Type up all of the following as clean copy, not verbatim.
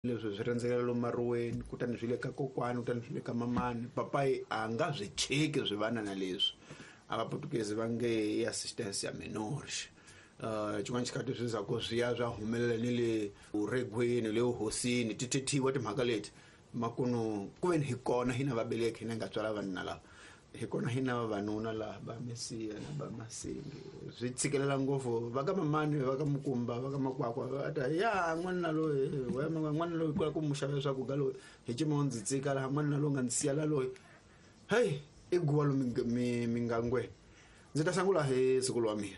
Leswi swi rhendzekela lomu mariweni, kutani swi le ka kokwani, kutani swi le ka mamani. Papayi a nga swi cheki swivanana leswi. A Vaputukezi va nge i assistência menores. Xin'wana xikhathi swi za ku swi ya swa humelela ni le uregweni, le uhosini, ti thethiwa timhaka leti. Makunu ku veni hi kona hina vabeleki hina nga tswala vanuna lava, hi kona hina vavanuna laha va Mesiya na va Masingi. Swi tshikelela ngopfu va ka mamani, va ka Mukumba, va ka Makwakwa, va ta ya n'wanuna loyi, n'wanuna loyi kula ku mu xavela swakudya loyi, hi cima u ndzi tsika laha, n'wanuna loyi nga ndzi siya la loyi. Hey, i guwa lomu mingangweni. Ndzi ta sungula hi siku wa mina.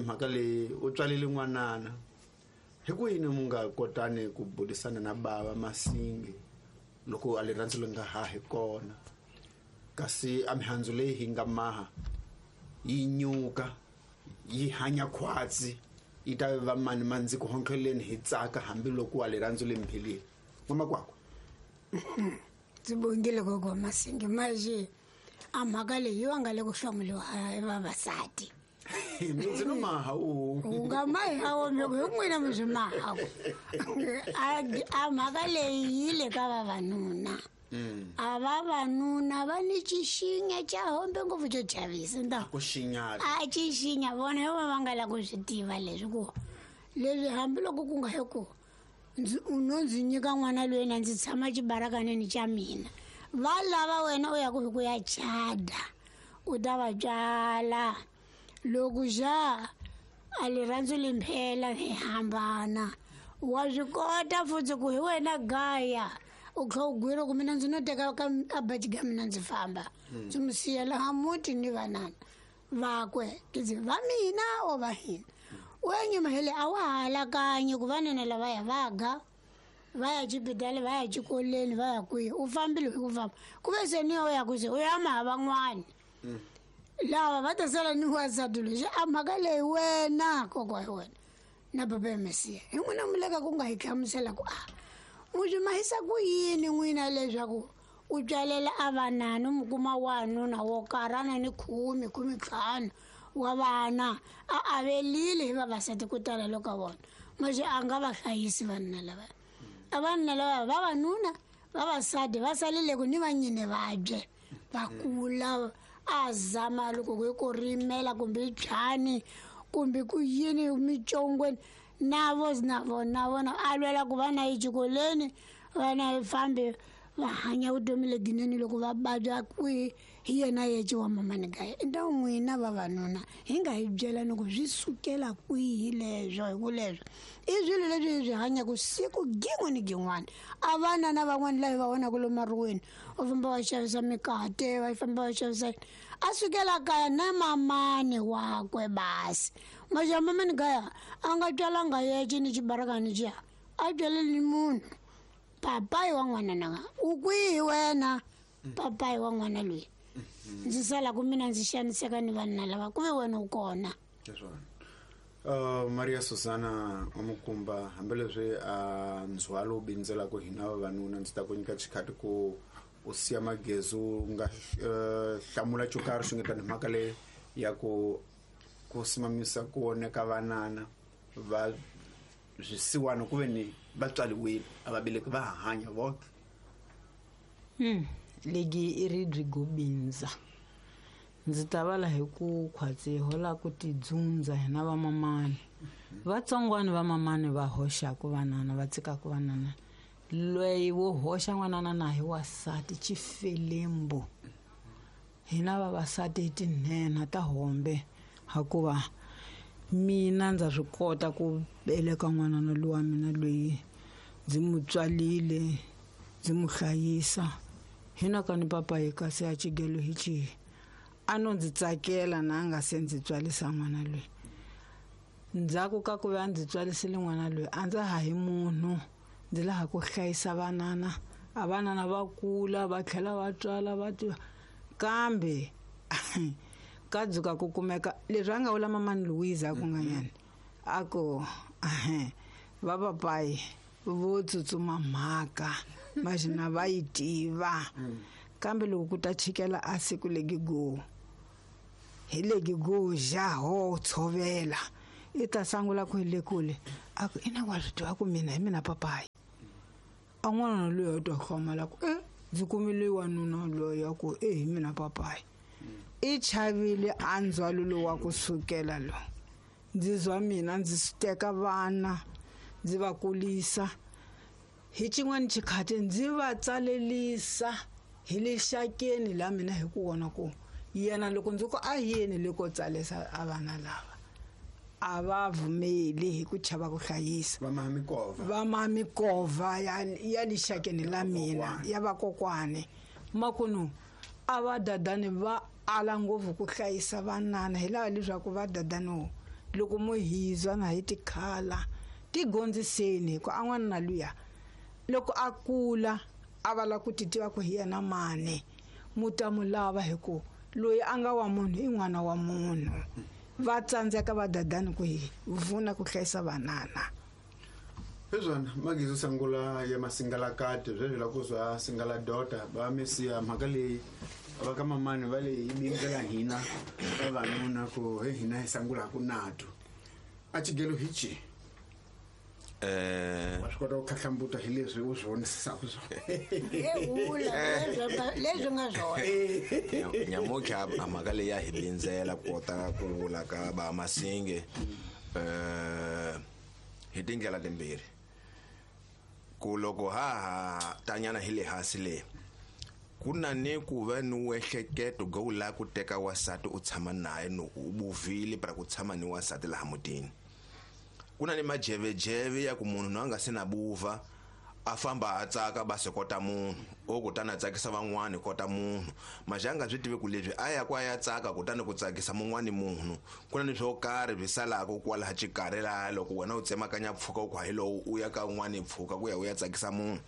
Mhaka leyi u tswalile n'wanana. Hi ku yini mu nga kotani ku burisana na bava Masingi loko a rirhandzu ri nga ha hi kona, kasi a mihandzu leyi hi nga maha yi nyuka yi hanya khwatsi, yi ta va mani ma ndzi ku hontleleni hi tsaka hambiloko wa rirhandzu ri mphelile. N'wamakwakwa. Ndzi bongile gogo Masingi, maje a mhaka leyi yi va nga le ku hlamuriwa hi vavasati. Ndzi no maha u. U nga maha wo mi ku hi n'wina mi swi maha. A mhaka leyi yi le ka vavanuna. A vavanuna va ni xixinya xa hombe ngopfu xo chavisa nda. Ku xinyata. A xixinya vona hi vona va nga la ku swi tiva leswi ku leswi hambiloko ku nga hi ku u no ndzi nyika n'wana loyi na ndzi tshama xibarakaneni xa mina. Va lava wena u ya ku hi ku ya chada, u ta va tswala. Loko xa a rirhandzu limphela hi hambana, wa swi kota futhi ku hi wena gaya u kha u gwira ku mina ndzi no teka ka a baji ka mina ndzi famba. Ndzi mu siya laha muti ni vanana vakwe, ndzi va mina o va hina. U ya nyuma hele a wa ha alakanyi ku vanana lavaya va ga, va ya xibedhlele, va ya xikolweni, va ya kwihi, u fambile hi ku famba. Ku ve se ni u ya ku se u ya maha van'wani. Lava va ta sala ni wansati loyi, a mhaka leyi wena kokwa hi wena na baba ya Mesiya hi n'wina mi le ka ku nga hi hlamusela ku a mu swi mahisa ku yini n'wina leswaku u tswalela a vanana u mu kuma wanuna wo karhana ni khume, khume ntlhanu wa vana a avelile hi vavasati ku tala loko ka vona, manje a nga va hlayisi vanuna lava. A vanuna lava vavanuna vavasati va salile ku ni vanyini vabye va kula a zama loko ku ku rimela kumbe byani kumbe ku yini mitsongweni na vo na vona vona a lwela ku va na exikolweni va na fambi va hanya vutomi lebyinene loko va vabya kwihi hi yena yexe wa mamani kaya. I ta n'wina vavanuna hi nga hi byela ni ku swi sukela kwihi leswo, hi ku leswo i swilo leswi hi swi hanyaka siku gin'we ni gin'wana. A vana na van'wana lava hi va vonaka lomu mariweni va famba va xavisa mikate, va famba va xavisa yini, a sukela kaya na mamani wakwe basi. Maxa mamani kaya a nga tswalanga yexe ni xibarakani xiya, a tswaleli ni munhu. Papayi wa n'wana nanga u kwihi wena? Papayi wa n'wana loyi ndzi sala ku mina ndzi xaniseka ni vanhu lava ku ve wena u kona. Leswona. Maria Susana wa Mukumba, hambileswi a ndzhwalo wu bindzelaka hina vavanuna, ndzi ta ku nyika xikhathi ku u siya magezi u nga hlamula xo karhi xi nga tani mhaka leyi ya ku simamisa ku oneka vanana va swisiwana ku ve ni va tswariwile a va beleki va hanya vona. Legi i ri byi gobindza. Ndzi ta vala hi ku khwatsi hola ku tidzundza hina vamamani. Vatsongwana vamamani va hoxaka vanana, va tsikaka vanana. Loyi wo hoxa n'wanana na hi wasati xifelembo. Hina vavasati hi tinhenha ta hombe, hikuva mina ndza swi kota ku veleka n'wanana lowa mina loyi ndzi n'wi tswalile, ndzi n'wi hlayisa. Hina ka ni papa hi kasi a xigelo hi xihi? A no ndzi tsakela na a nga se ndzi tswalisa n'wana loyi. Ndzhaku ka ku va ndzi tswalisile n'wana loyi, a ndza ha hi munhu, ndzi laha ku hlayisa vanana. A vanana va kula va tlhela va tswala va tiva, kambe ka dzuka ku kumeka leswi a nga vula mamani Louise a ku nga nyani, a ku, va papayi vo tsutsuma mhaka maxina va yi tiva. Kambe loko ku ta chikela a siku legi go hi legi go ja ho tshovela, i ta sangula ku hi le kule a ku ina wa swi tiva ku mina hi mina papayi. A n'wana loyi a twa hlamala ku ndzi kumile wanuna loyi ya ku hi mina papayi. I chavile a ndzhwalo lowu wa ku sukela lo. Ndzi zwa mina ndzi teka vana ndzi va kulisa. Hi xin'wana xikhathi ndzi va tsalelisa hi le xakeni la mina hi ku vona ku yena loko ndzi ku a yeni le ko tsalisa a vana lava a va vumeli hi ku chava ku hlayisa. Va mamikova ya lixakeni la mina ya vakokwani. Makunu a va dadani va ala ngopfu ku hlayisa vanana hi laha leswaku va dadani loko mo hizwa na hi tikhala tigondziseni hi ku a n'wana na luya loko a kula a va la ku titiva ku hi yena mani mu ta mu lava hi ku loyi a nga wa munhu i n'wana wa munhu. Va tsandzeka va dadani ku hi vuna ku hlayisa vanana. Hezwana magizo sangula ya masingalakati sweswi la ku zwa singala dota va mesiya mhaka leyi va ka mamani va le yi bindzela hina vavanuna ku he hina hi sangulaku nato. A xigelo hi ci wa swi kota ku khahlambuta hi leswi u swi vonisisaka swona. Leswi nga swona. Nyamutlha a mhaka leyi ya hi bindzela ku kota ku vula ka va Masinge hi tindlela timbirhi. Ku loko ha tanyana hi le hansi le ku na ni ku va ni wehleketo go u lava ku teka wasati u tshama naye no u buvile para ku tshama ni wasati laha mutini. Ku na ni majevejeve ya ku munhu na nga se na buva a famba a tsaka ba se kota munhu o kutani a tsakisa van'wani kota munhu majanga swi tive ku leswi a ya kwa ya tsaka kutani ku tsakisa mun'wani munhu ku na ni swo karhi swi salaka kwalaha xikarhi laha loko wena u tsemakanya pfuka u hi lowu u ya ka un'wani pfuka ku ya u ya tsakisa munhu.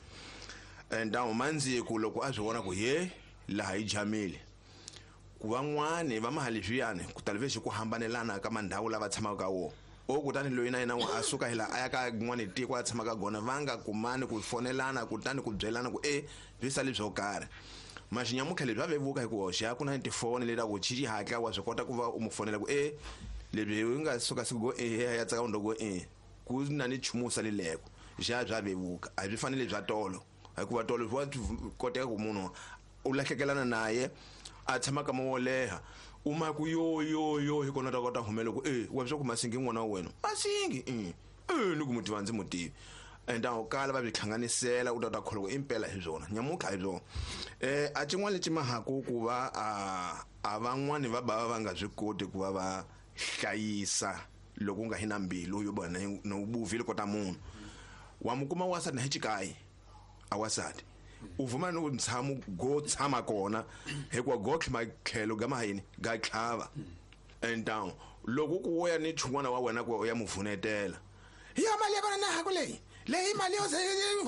And mandziku loko a swi vona ku ye laha yi jamile ku van'wani va mahali swiyani ku talivexi ku hambanelana ka mandhawu lava tshamaka ka wona. O kutani loyi na yena a suka hi laha a ya ka n'wani tiko a tshamaka gona va nga kumani ku fonelana kutani ku byelana ku swi sali swo karhi. Maxinyamutlha leswi va vevuka hi ku hoxa ku na tifoni leti ku chichi hatla wa swi kota ku va u mu fonela ku leswi u nga suka siku go ya tsaka ndo go ku na ni nchumu wu salileko xa bya vevuka a byi fanele bya tolo hikuva tolo wa koteka ku munhu u lahlekelana naye a tshama ka mo leha u ma ku yo yo yo hi kona ta kota humela ku wa swa ku Masingi n'wana wa wena Masingi ni ku mutiva ndzi mutivi and a kala va byi hlanganisela u ta ta kholwa impela hi byona nyamutlha hi byona. A xin'wana lexi mahaku ku va a van'wani va bava va nga swi koti ku va va hlayisa loko u nga hi na mbilu yo bona no buvile kota munhu wa mu kuma wasati na hi xikayi a wasati u vuma no ntshamo go tshama kona hikuva go tlhima tlhelo ga mahayini ga tlhava. And down loko ku ya ni chun'wana wa wena ku ya muvunetela ya mali ya kona na haku leyi leyi mali yo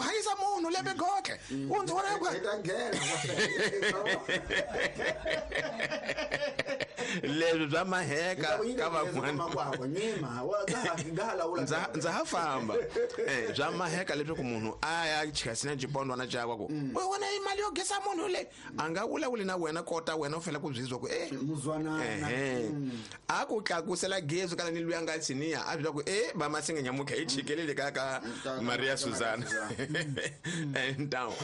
hayisa munhu lembe gotle u ndzi vona ku leswi bya maheka ka van'wana ndza ha famba bya maheka leswaku munhu a ya chikasina xipondwana xakwe ku u wena i mali yo gesa munhu le a nga vulavuli na wena kota wena u fanele ku byizwa ku muzwanana a ku tlakusela gezi kana ni luya nga tsiniya a byela ku va Masinge nyamutlha hi chikelele ka Maria Suzana. And down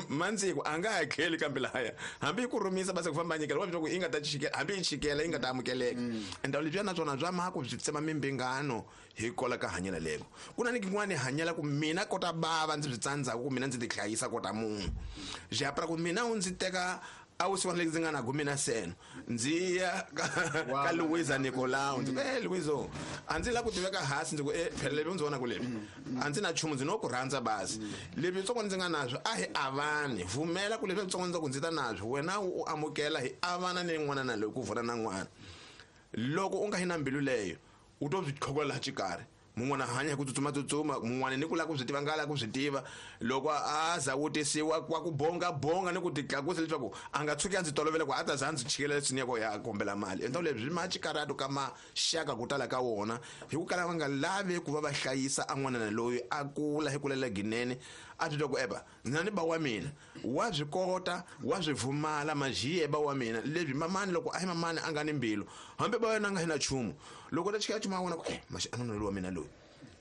mandziku a nga hakeli kambe lahaya hambi ku rhumisa basa ku famba nyikela wa byela ku i nga ta chikela hambi yi chikela yi nga ta amukeleka. And leswiya na swona bya mhaka byi tsema mimbingano hi kola ka hanyela leko. Ku na ni kin'wani hanyela ku mina kota bava ndzi byi tsandzaka ku mina ndzi ti hlayisa kota munhu japra ku mina u ndzi teka a wu siwana ndzi nga na gumi na seno ndzi ya ka Luisa Nicolau ndzi ku Luiso a ndzi la ku tiveka hansi ndzi ku phela leswi ndzi vona ku leswi a ndzi na nchumu ndzi no ku rhandza basi leswi ntsongo ndzi nga naswo a hi avani vumela ku leswi ntsongo ndzi ku ndzi ta naswo wena u amukela hi avana ni n'wana na loyi ku vona na n'wana. Loko u nga hi na mbilu leyo u to swi tlhokola laha xikarhi mun'wana hanya hi ku tsutsuma mun'wana ni ku lava ku swi tiva nga lava ku swi tiva loko a za wutisiwa kwa ku bonga bonga ni ku titlakusa leswaku a nga tshuki a ndzi tolovela ku a ta za ndzi chikela leswi ni ya kombela mali. Endla leswi ma xikarato ka maxaka ku tala ka wona hi ku kala va nga lavi ku va va hlayisa a n'wanana loyi a kula hi kulela ginene a swi twa ku eba ndzi na ni ba wa mina wa swi kota wa swi vumala majiye ba wa mina leswi mamani loko a hi mamani a nga ni mbilu hambi ba wena a nga hi na nchumu loko ta chikela nchumu wa wena ku maxi a nuna loyi wa mina loyi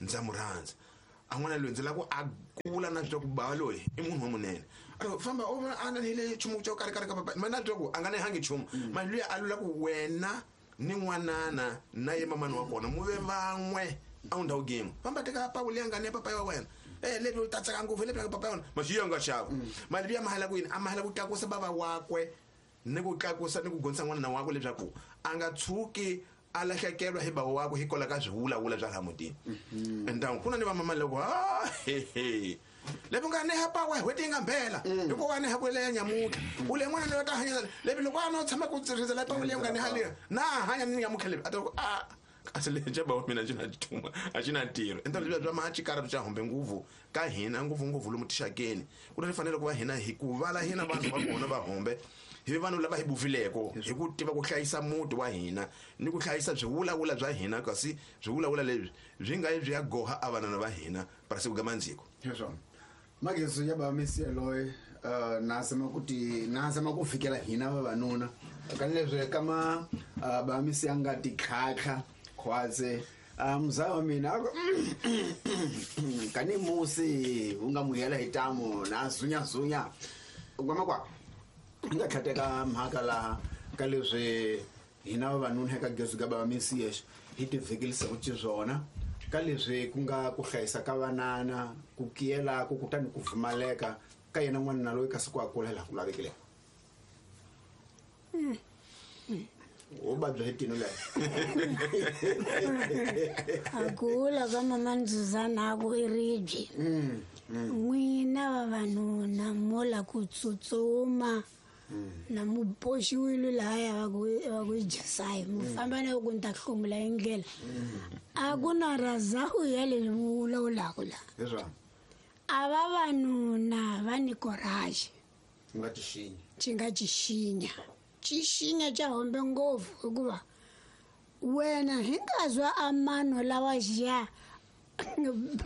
ndza mu rhandza. A n'wana loyi ndzi lava ku a kula na swi ku bava loyi i munhu wa munene. A famba o a na hile nchumu xo karhi karhi ka papa ma na twa ku a nga nehangi nchumu. Mali luya a lula ku wena ni n'wanana na ye mamani wa kona mu ve van'we a wu ndhawu game. Famba teka pawu leyi nga ne papa wa wena. Lebi u ta tsaka ngopfu lebi papa wa wena. Maxi yo nga xava. Mali luya mahala ku yini? A mahala ku tlakusa bava wakwe ni ku tlakusa ni ku gonisa n'wana wakwe leswaku a nga tshuki a lahlekelwa hi bava wakwe hikwalaho ka swivulavula swa laha mutini. Endangu ku na ni vamama loko he lebi nga neha pawa hweti yi nga mbela hikuva neha ku leya nyamutlha u le n'wana loyi ta hanya lebi loko a no tshama ku rindzela pawa leyi nga neha leya na hanya ni nyamutlha lebi a ta ku a kasi lexa bava mina xi na xituma a xi na ntirho. Enta leswiya bya mahachi karhi bya humbe ngopfu ka hina ngopfungopfu lomu tixakeni ku na fanele ku va hina hi ku vala hina vanhu va kona va hombe hi vanhu lava hi bufileko hi ku tiva ku hlayisa muti wa hina ni ku hlayisa swivulavula bya hina kasi swivulavula leswi byi nga yi byi ya goha a vanana va hina parasiku ka mandziko. Hezwona mageso ya ba mesiya loyi na zama kuti na zama ku fikela hina vavanuna kanileswi kama ba mesiya nga titlhatlha khwatse mzaya wa mina kani musi u nga muhela hi tamu na zunyazunya kwamakwa hi nga tlhateka mhaka laha ka leswi hina vavanuna eka gezu ka bava mesiyexe hi tivhekelisaka xiswona ka leswi ku nga ku hlayisa ka vanana ku kiyelaka kutani ku pfumaleka ka yena n'wanuna loyi kasi ku a kula laha ku lavekileke. U vabya hi tino leyo. A kula ka mama Ndzuzana ku i ribye. N'wina vavanuna mo la ku tsutsuma na mu boxiwile lahaya va ku jasayi mu famba na ku ni ta hlomula hi ndlela. A ku na razawu ya leswi mu vulavulaka laha. Leswaku a vavanuna va ni courage. Nga tixinya. Xi nga tixinya. Xixinya xa hombe ngopfu hikuva wena hi nga zwa amano lawa xiya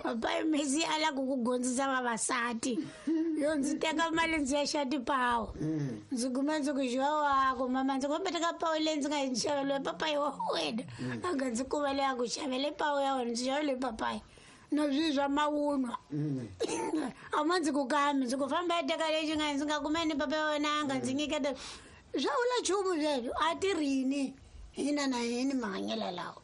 papa Messi a la ku ku gondzisa vavasati yo ndzi teka mali ndzi ya xa tipawu ndzi kuma ndzi ku xiwa wako mama ndzi kombe teka pawu leyi ndzi nga yi xaveliwe papayi wa wena a nga ndzi kuma leyi a ku xavele pawu ya wena ndzi xavele papayi na swi swa mavunwa a ma ndzi ku kami ndzi ku famba ya teka lexi nga ndzi nga kumeni papa ya wena a nga ndzi nyiketa swa vula nchumu sweswo a ti rini hina na hini mahanyelo lawa.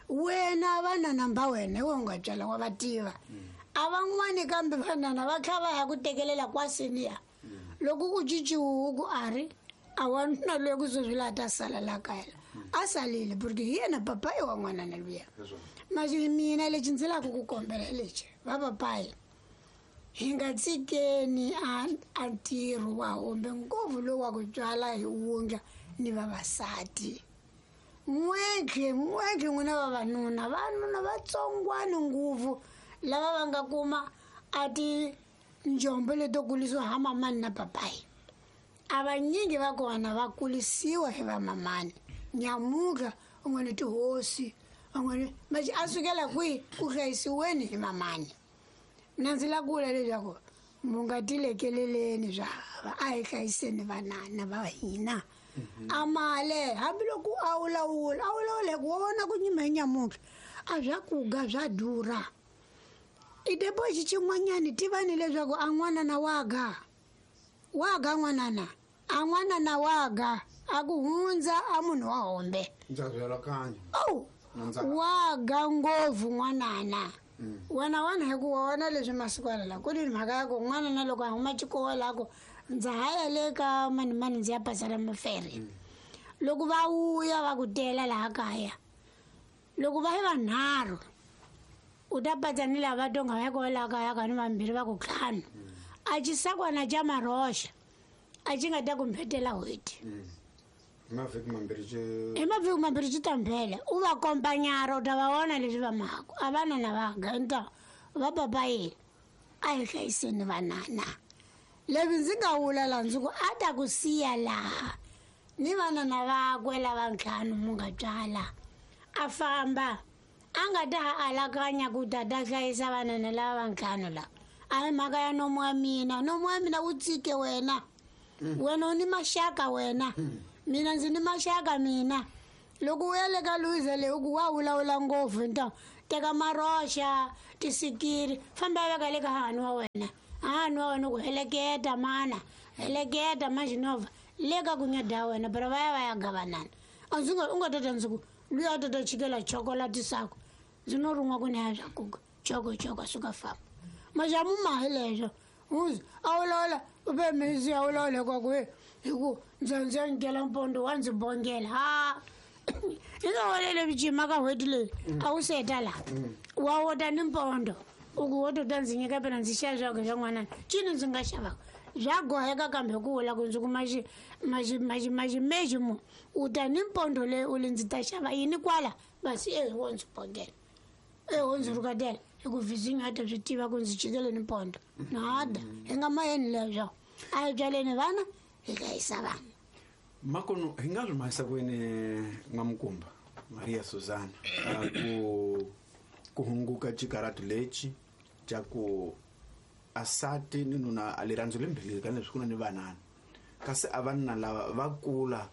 Wena vanana mba wena hi wena u nga tswala wa va tiva a van'wani kambe vanana va tlha va ya ku tekelela kwaseni ya loko ku cinciwe ku a ri a wanuna loyi ku sweswi laha ta sala laha kaya la a salile porque hi yena papayi wa n'wanana luya. Masi mina lexi ndzi lava ku kombela lexi va papayi hi nga tshikeni a ntirho wa hombe ngopfu lowu wa ku tswala hi wundla ni vavasati. N'wentlhe n'wentlhe n'wina vavanuna vanuna vatsongwani ngopfu lava va nga kuma a tinjombo leto kulisiwa ha mamani na papayi. A vanyingi va kona va kulisiwa hi vamamani nyamuka un'wana tihosi un'wana maxi a sukela kwihi ku hlayisiweni hi mamani. Mina ndzi lava ku vula leswaku mu nga tilekeleleni swa hava a hi hlayiseni vanana va hina. A male hambiloko a wulawula a wulawula hi ku vona ku nyima hi nyamutlha a swa kuga swa durha. I deposit xin'wanyani tivani leswaku a n'wanana wa ga wa ga n'wanana a n'wanana wa ga a ku hundza a munhu wa hombe. Ndza byela kanya. Oh wa ga ngopfu n'wanana. Wena wena hi ku wona leswi masiku lawa ku ni mhaka ya ku n'wana na loko a huma xikolo a ku ndza ha ya le ka mani mani ndzi ya pasela mafere. Loko va vuya va ku tela laha kaya loko va yi vanharhu u ta patsa ni lava tonga va ya ko laha kaya ka ni vambirhi va ku ntlhanu a xisakwana xa maroxa a xi nga ta ku mbhetela n'hweti. Mavhiki mambirhi xi hi mavhiki mambirhi xi ta mbhela u va kombanyara u ta va vona leswi va mhaka a vanana va ganta va papayi a hi hlayiseni vanana. Leswi ndzi nga vula laha ndzi ku a ta ku siya laha ni vanana vakwe lava ntlhanu mu nga tswala a famba a nga ta ha alakanya ku ta ta hlayisa vanana lava va ntlhanu lava. A hi mhaka ya nomu wa mina nomu wa mina wu tsike wena wena u ni maxaka wena mina ndzi ni maxaka mina. Loko u ya le ka Louisa leyi u ku wa vulavula ngopfu nta Teka maroxa, tisikiri, famba veka le ka hahani wa wena. Hahani wa wena ku heleketa mana, heleketa maxinova le ka ku nyada wena, pero va ya va ya gavanana. A ndzi nga u nga tata ndzi ku luya a tata chikela chocolate sako. Ndzi no rin'wa ku ni ya swa kuka. Choko choko suka famba. Majamu ma hi leswo. Uzi a wulawula u be misi a wulawula hikuva ku hi ku ndza ndzi ya nyikela mpondo wa ndzi bongela. Ha. Hi nga walele vijima ka n'hweti leyi a wu seta laha. Wa wota ni mpondo. U ku wo tota ndzi nyika phela ndzi xava swakudya swa n'wanana. Cini ndzi nga xavaka? Bya goheka kambe ku vula ku ndzi kuma ximeji mu. U ta ni mpondo leyi u li ndzi ta xava yini kwala? Basi e wo ndzi bongela. E wo ndzi rhukatela. Hi ku vizinyo a ta swi tiva ku ndzi chikele ni mpondo. Nada. Hi nga mayeni leswo. A hi byaleni vana, hi hlayisa vana. Makono hi nga swi mahisa kwini N'wamukumba Maria Susana ku hunguka xikaratu lexi xa ku asati ni nuna a lirhandzu lembilini ka leswi ku na ni vanana kasi a vanna lava va kula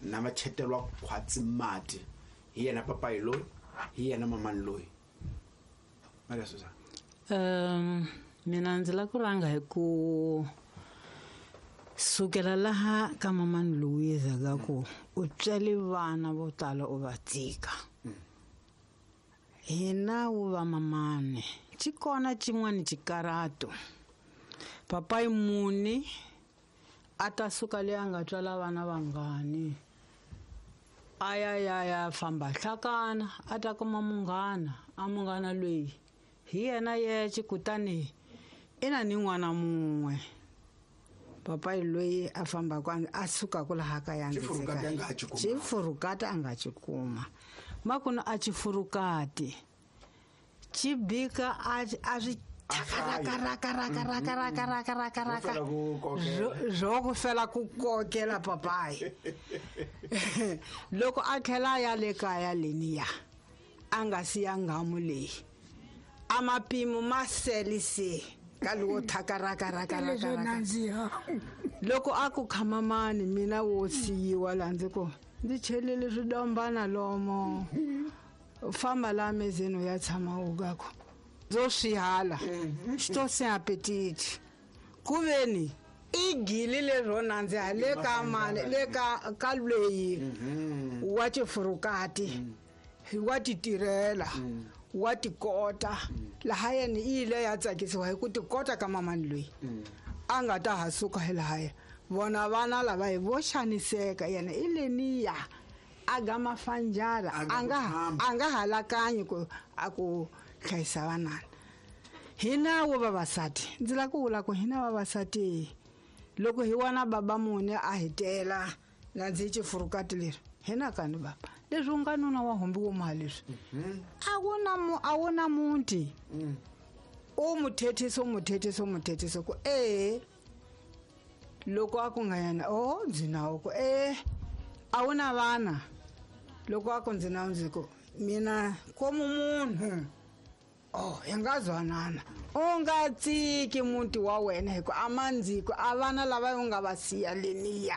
na va chetelwa khwatsi mati hi yena papayi loyi hi yena mamani loyi. Maria Susana. Mina ndzi la ku rhanga hi ku sukela laha ka mamani Louise ka ku u tswele vana vo tala u va tshika. Hina wu va mamani xi kona xin'wana xikarato. Papayi muni a ta suka leyi a nga tswala vana vangani a ya ya ya famba hlakana a ta kuma munghana a munghana loyi hi yena yexe kutani i na ni n'wana mun'we. Papayi loyi a fambaka a sukaka laha kaya ndzi Xifurukati a nga ha xi kuma. Xifurukati a nga xi kuma. Makunu a xifurukati xi bika a swi raka, raka, raka, raka, raka, raka, raka, raka. Ro fela ku kokela. Ro ku fela ku kokela papayi. Loko a tlhela a ya le kaya leniya a nga siya nghamu leyi a mapimo ma sele se ka lowo thaka raka, raka, raka, Leswo raka. nandziha. Loko a ku khamamani mina wo siyiwa laha ndzi ku ndzi chelele swidombana lomo famba laha mezeni u ya tshama u ka ku ndzo swi hala xi to se appetite ku veni i gili lero nandziha le ka mani le ka loyi wa xifurukati wa titirhela wa tikota laha yena i yile ya tsakisiwa hi ku tikota ka mamani loyi a nga ta ha suka hi lahaya vona vana lava hi vo xaniseka yena i leniya a ga mafanjara A nga ku famba. a nga halakanyi ku a ku hlayisa vanana. Hina wo vavasati ndzi lava ku vula ku hina vavasati loko hi wana baba mune a hi tela na ndzi xifurukati leri hina kani baba leswi u nga nuna wa humbi wo mali leswi a wu na mu, a wu na muti u mu thethisa, u mu thethisa, u mu thethisa ku e loko a ku nga yena o ndzi nawo ku e a wu na vana loko a ku ndzi nawo ndzi ku mina komu munhu oh hi nga zwanana u nga tsiki muti wa wena hi ku a mandziko a vana lava u nga va siya leniya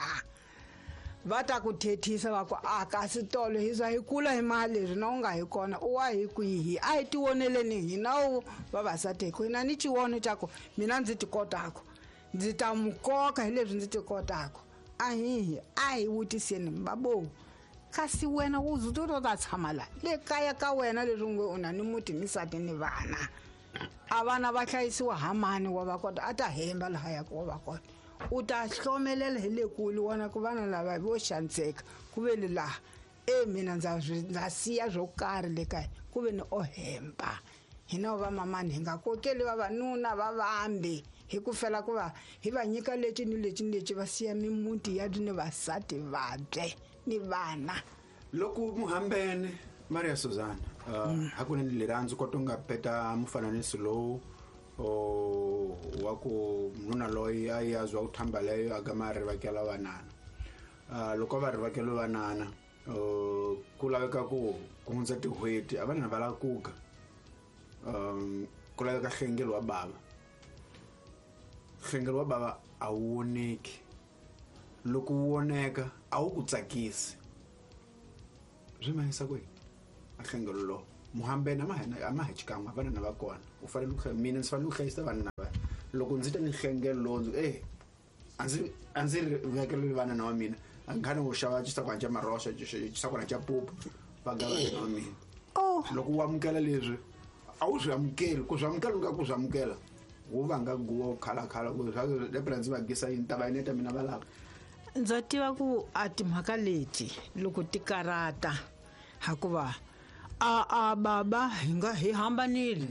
va ta ku thethisa va ku a kasi tolo hi za hi kula hi mali leswi na u nga hi kona u wa hi kwihi a hi tivoneleni hina wu vavasati hi ku hina ni xivono xa ku mina ndzi ti kotaka ndzi ta mu koka hi leswi ndzi ti kotaka a hihi a hi vutiseni babo kasi wena u zu to ta tshama la le kaya ka wena leswi nge u na ni muti ni nsati ni vana a vana va hlayisiwa ha mani wa va kota a ta hemba lahaya ku wa va kota u ta hlomelela hi le kule wona ku vana lava vo xaniseka ku ve ni laha e mina ndza siya swo karhi le kaya ku ve ni o hemba hina va mamani hi nga kokeli vavanuna va vambe hi ku fela ku va hi va nyika leti ni leti ni leti va siya mimuti ya ni vasati vabye ni vana. Loko muhambene Maria Susana hakunene lirhandzu kota u nga peta mufananiso lowu o wa ku nuna loyi a ya zwa ku thamba leyo a gama a rivakela vanana. Loko va rivakela vanana, ku laveka ku ku hundza tin'hweti a vanana va lava ku ga. Ku laveka nhlengelo wa bava. Nhlengelo wa bava a wu voneki. Loko wu voneka a wu ku tsakisi. Swi mahisa kwihi a nhlengelo lowu? Muhambene a ma ha xikan'we vanana va kona u fanele ku mina ndzi fanele ku hlayisa vanana va loko ndzi ta ni nhlengelo lowu ndzi a ndzi ri vekeleli vanana wa mina a nga ni wo xava xisakwana xa maroxa xisakwana xa pupu va ga vanana wa mina. Loko u amukela leswi a wu swi amukeli ku swi amukela u nga ku swi amukela wu vanga guwa u khalakhala ku lepela ndzi va gisa yini ta va yineta mina va lava. Ndza tiva ku a timhaka leti loko ti karata hikuva a baba hi nga hi hambanile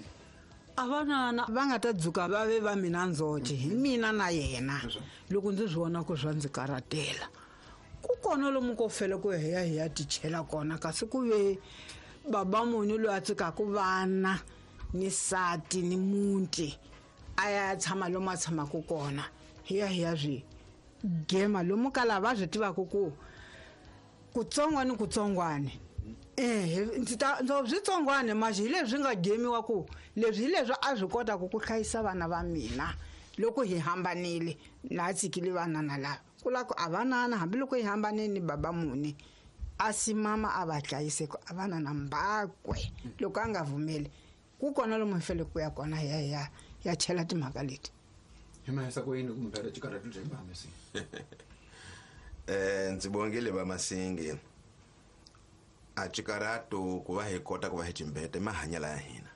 a vanana va nga ta dzuka va ve va mina ndzoxe hi mina na yena loko ndzi swi vona ku swa ndzi karatela ku kona lomu ko fela ku hi ya hi ya tichela kona kasi ku ve baba munhu loyi a tsikaka vana ni sati ni muti a ya tshama lomu a tshamaka kona hi ya hi ya swi gema lomu ka lava swi tivaka ku kutsongwani kutsongwani ndzi ta switsongwane maxi hi leswi nga gemiwa ku leswi hi leswi a swi kotaka ku hlayisa vana va mina loko hi hambanile na tsikile vanana lava ku lava ku a vanana hambiloko hi hambanile ni baba muni a si mama a va hlayise ku a vanana mbakwe loko a nga vumeli ku kona lomu hi fanele ku ya kona hi ya ya chela timhaka leti. Hi mahisa ku yini kumbe ra xikarhati bya vamasi. Ndzi bongile va Masingi a xikarato ku va hi kota ku va hi timbete mahanyela ya hina.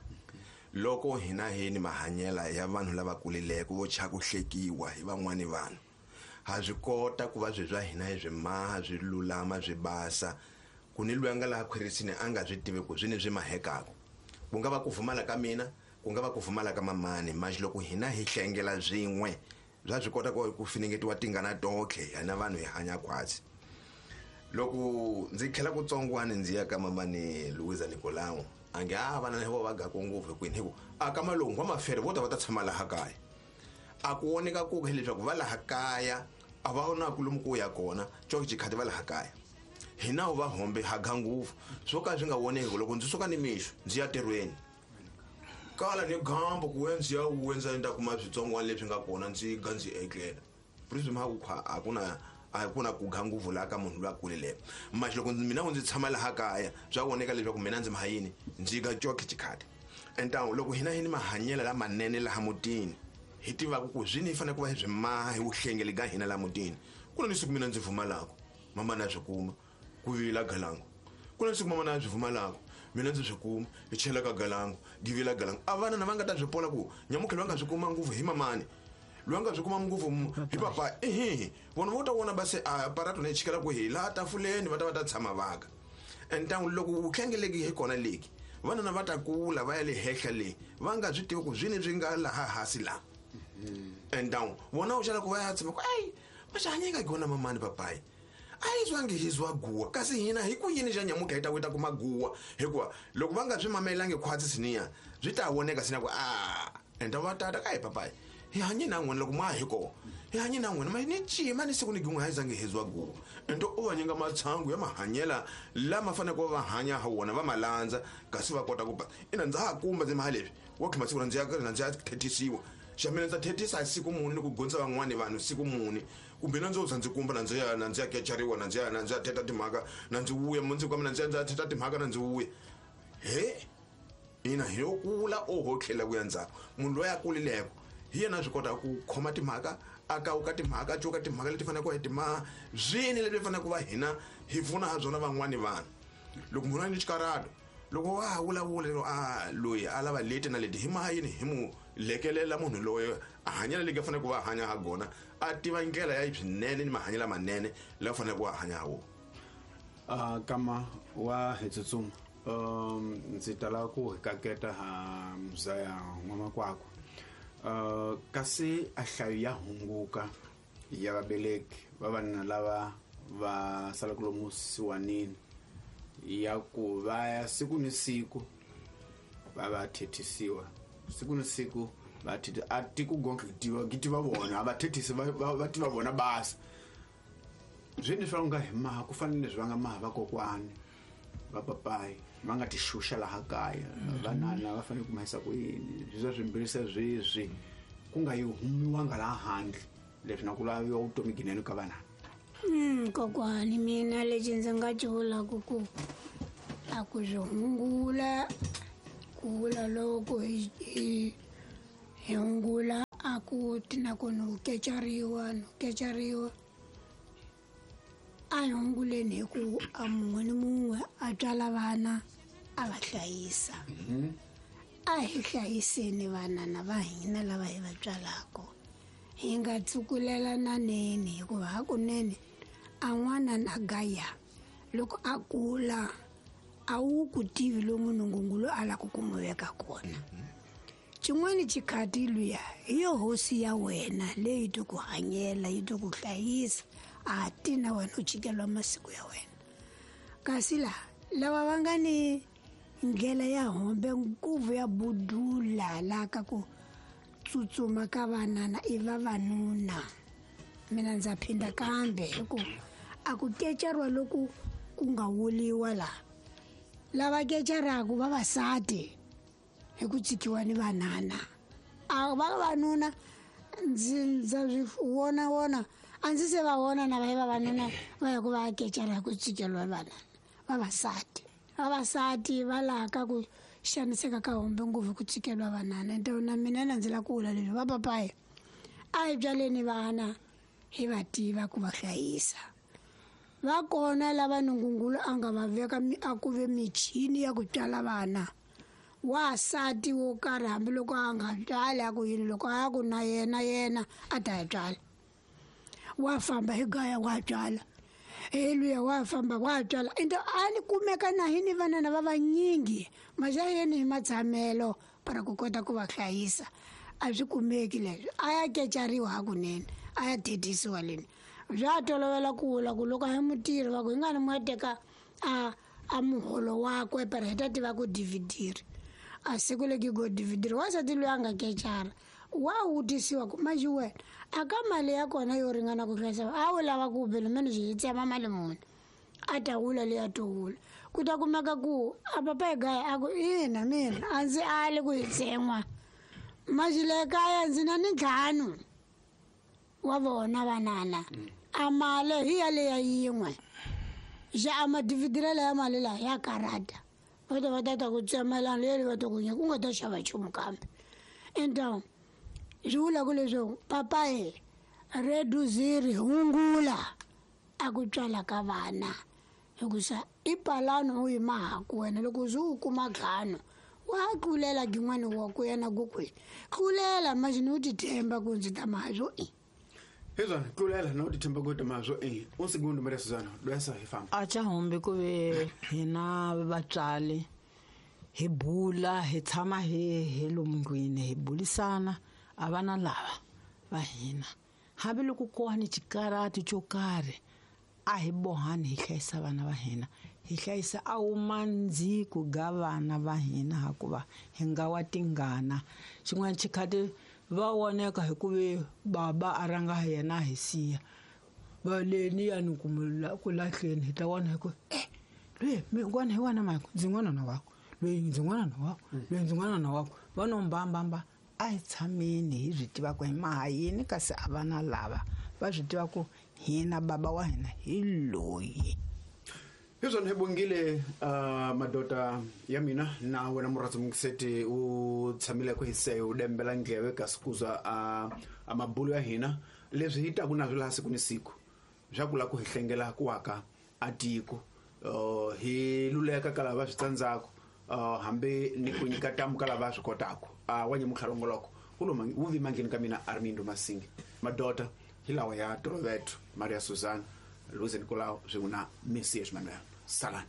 Loko hina hi ni mahanyela ya vanhu lava kulileke vo cha ku hlekiwa hi van'wani vanhu ha swi kota ku va swi swa hina hi swi maha swi lulama swi basa ku ni loyi a nga laha khwirisini a nga swi tivi ku swi ni swi mahekaka ku nga va ku pfumala ka mina ku nga va ku pfumala ka mamani maxi loko hina hi hlengela swin'we bya swi kota ku finengetiwa tingana totlhe hina vanhu hi hanya khwatsi. Loko ndzi tlhela kutsongwani ndzi ya ka mamani Luisa Nicolau a nge a vana vo va gaku ngopfu kwini hi ku a ka malungu wa mafere vo ta va ta tshama laha kaya a ku voneka ku hileswaku va laha kaya a va na ku lomu ku ya kona coke xikhati va laha kaya hina va hombe ha ga ngopfu swo ka swi nga voneki loko ndzi suka ni mixo ndzi ya tirhweni kala ni gambo ku ndzi ya wendza ndza kuma switsongwana leswi nga kona ndzi ga ndzi etlela prism ha ku a ku na ku ga ngopfu laha ka munhu loyi a kulileke maxi loko mina ndzi tshama laha kaya swa voneka leswaku mina ndzi mahayini ndzi ga coke xikhati entawu loko hina hi ni mahanyelo lamanene laha mutini hi tivaka ku swi ni fanele ku va hi swi maha hi vuhlengeli ka hina laha mutini ku na ni siku mina ndzi pfumalaka mama na swi kuma ku vila galangu ku na ni siku mama na swi pfumalaka mina ndzi swi kuma hi chela ka galangu givila galangu a vana na va nga ta swi pola ku nyamukhelo va nga swi kuma ngopfu hi mamani loyi a nga swi kuma ngopfu hi papa ehe vona vo ta vona va se a parato na yi chikela ku hi laha tafuleni va ta va ta tshama vaka entangu loko vuhlengeleki hi kona leki vanana va ta kula va ya le henhla leyi va nga swi tivi ku swini swi nga laha hansi laha entangu vona u xana ku va ya tshama ku ayi va xi hanyeka kona mamani papayi a yi zwangi hi zwa guwa kasi hina hi ku yini xa nyamuka hi ta ku ta kuma guwa hikuva loko va nga swi mamelangi khwatsi siniya swi ta voneka sina ku a enta va tata ka hi papayi hi hanye na n'wina loko ma hi kona hi hanye na n'wina ma ni cima ni siku ni gin'we a yi zangi hi zwa guwa ento u va nyika matshangu ya mahanyela lama faneleke va hanya ha wona va ma landza kasi va kota ku ba ina ndza ha kumba ndzi maha leswi wa khima siku na ndzi ya thethisiwa xa mina ndza thethisa siku muni ni ku gondza van'wani vanhu siku muni kumbe na ndzo za ndzi kumba na ndzi ya na ndzi ya kechariwa na ndzi ya na ndzi ya theta timhaka na ndzi vuya mundzuku ka mina ndzi ya ndzi ya theta timhaka na ndzi vuya he ina hi yo kula oho tlhela ku ya ndzhaku munhu loyi a kulileko hi yena a swi kotaka ku khoma timhaka a kawuka timhaka a cuka timhaka leti faneleke hi timaha swini leswi faneleke ku va hina hi pfuna ha byona van'wani vanhu loko munhu a ni xikarato loko wa ha vulavula lero a loyi a lava leti na leti hi maha yini hi mu lekelela munhu loyi a hanyela leki a faneleke ku va hanya ha gona a tiva ndlela ya swinene ni mahanyelo lamanene lawa faneleke ku va hanya ha wona. Kama wa hi tsutsuma ndzi tala ku hi kaketa ha mzaya n'wamakwakwa kasi a hlayo ya hunguka ya vabeleki va vanuna lava va salaka lomu siwanini ya ku va ya siku ni siku va va thethisiwa siku ni siku va thethisa a tiko gonke ki tiva vona a va thethisi va tiva vona basa swini swa nga hi maha ku fanele leswi va nga maha vakokwani va papayi va nga ti xuxa laha kaya vanana va fanele ku mahisa ku yini swi swa swimbirhi sweswi ku nga yi humiwanga laha handle leswi na ku laviwa vutomi ginene ka vanana. Kokwani mina lexi ndzi nga xi vulaka ku A ku swi hungula ku vula loko hi hungula a ku ti na ku no kecariwa no kecariwa. A hi hunguleni hi ku a mun'we ni mun'we a tswala vana a va hlayisa. A hi hlayiseni vanana va hina lava hi va tswalaka, hi nga tsukulelananeni, hikuva hakunene a n'wana na gaya loko a kula a wu ku tivi lomu nungungulu a lava ku n'wi veka kona. Xin'wana xikhati luya hi yo hosi ya wena leyi to ku hanyela, yi to ku hlayisa, a ti na wena u jikeliwa masiku ya wena. Kasi laha lava va nga ni ndlela ya hombe nguvu ya budula laha ka ku tsutsuma ka vanana i vavanuna. Mina ndza phinda kambe hi ku a ku kecariwa loku ku nga wuliwa laha, lava kecaraka vavasati hi ku tsikiwa ni vanana. A vavanuna ndzi ndza swi vona vona a ndzi se va vona na va yi vavanuna va ya ku va ya kecara hi ku tsikeliwa vanana. Vavasati vavasati va laha ka ku xaniseka ka hombe ngopfu ku tsikeliwa vanana. Ente na mina na ndzi la ku vula leswi va papayi a hi byaleni vana hi va tiva ku va hlayisa. Va kona lava nungungulu a nga va veka a ku ve michini ya ku tswala vana. Wasati wo karhi hambiloko a nga tswali a ku yini, loko a ya ku na yena yena a ta ya tswala, wa famba hi gaya wa tswala, he luya wa famba wa tswala. Ende a ni kumeka na hi ni vanana va vanyingi maxa yeni hi matshamelo para ku kota ku va hlayisa a swi kumeki leswi. A ya kecariwa hakunene, a ya thethisiwa leni bya tolovela ku vula ku loko a hi mutirhi va ku hi nga ni mu ya teka a muholo wakwe para hi ta tiva ku dividiri. A siku leki go dividiri, wansati loyi a nga kecara wa vutisiwa ku manjhe wena a ka mali ya kona yo ringana ku hlayisa a wu lava ku bele mene swi hi tsema mali muni, a ta wula leyi a to wula. Ku ta kumeka ku a papa hi gaya a ku ina mina a ndzi ali ku hi tsen'wa manjhe le kaya ndzi na ni ntlhanu wa vona vanana, a mali hi yaleya yin'we xa a madividirelo ya mali laha ya karata va ta va ta ta ku tsemelana leri va ta ku nyika ku nga ta xava nchumu kambe. Enta swi vula ku leswaku papayi reduziri hungula a ku tswala ka vana, hikusa i palani u yi mahaku wena loko ze u kuma ntlhanu wa tlulela gin'wana wa ku yena ku kwihi tlulela manjhe u ti themba ku ndzi ta mahazwo i hezwana tlulela na u ti themba ku ta mahazwo i un segundo Maria Susana lwesa hi famba. A cha hombe ku ve hina vatswari hi bula hi tshama hi lomu ndlwini hi bulisana a vana lava va hina hambiloko ko va ni xikarati xo karhi a hi bohani hi hlayisa vana va hina, hi hlayisa a wu mandziko ga vana va hina hikuva hi nga wa tingana. Xin'wana xikhati va voneka hi ku ve baba a ranga yena hi siya va leni ya ni ku lahleni hi ta vona hi ku loyi n'wana hi wena Michael ndzi n'wana na wako loyi ndzi n'wana na wako loyi ndzi n'wana na wako va no mbambamba. A hi tshameni hi swi tiva ku hi maha yini kasi a vana lava va swi tiva ku hina baba wa hina hi loyi. Hezwana hi bongile madoda ya mina na wena murhandzi mungiseti u tshamile ku hiseka u dembela ndleve kasi kuza a mabulo ya hina leswi hi taku na swo laha siku ni siku swa ku lava ku hi hlengela ku aka a tiko hi luleka ka lava swi tsandzaka hambi ni ku nyika tamu ka lava swi kotaka. Wa nyamuntlha longoloko wu vi mangheni ka mina Armindo Masingi. Madoda hi lawa ya Toroveto, Maria Susana, Luiz Nicolau swin'we na Messias Manuel. Salani.